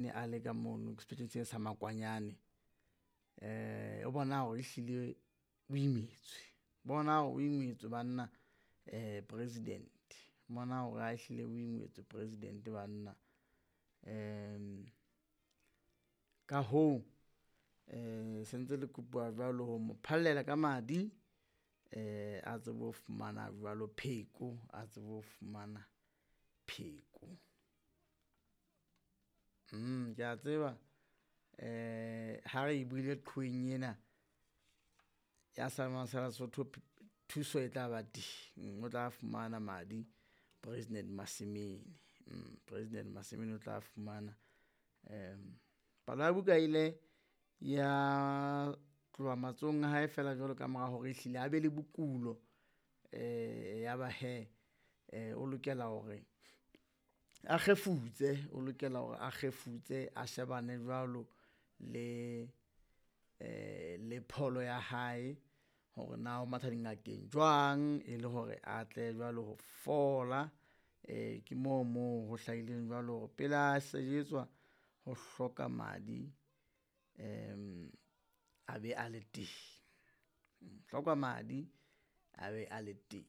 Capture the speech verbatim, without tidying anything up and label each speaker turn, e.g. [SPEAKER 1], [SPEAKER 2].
[SPEAKER 1] Ne a le ka mono sepetleleng sena sa Makwanyane, o bona hore ehlile o imetswe, bona hore o imetswe banna president, bona hore ha ehlile o imetswe president banna. Ka hoo sentse le kopuwa jwalo ho mo phallela ka madi a tsebe ho fumana jwalo pheko, a tsebe ho fumana pheko. Ke a tseba ha re e buile qhoweng ena ya sa Lesotho thuso e tla ba teng, o tla fumana madi President Masimene, President Masimene o tla fumana. Palo ya buka ile ya tloha matsohong a hae feela jwalo ka mora hore ehlile a be le bokulo ya ba hee o lokela hore a kgefutse, o lokela hore a kgefutse a shebane jwalo le le pholo ya hae hore na o matha dingakeng jwang e le hore atle jwalo ho fola. Ke moo moo ho hlahileng jwalo hore pele a sejetswa ho hloka madi a be a le teng, hloka madi a be a le teng.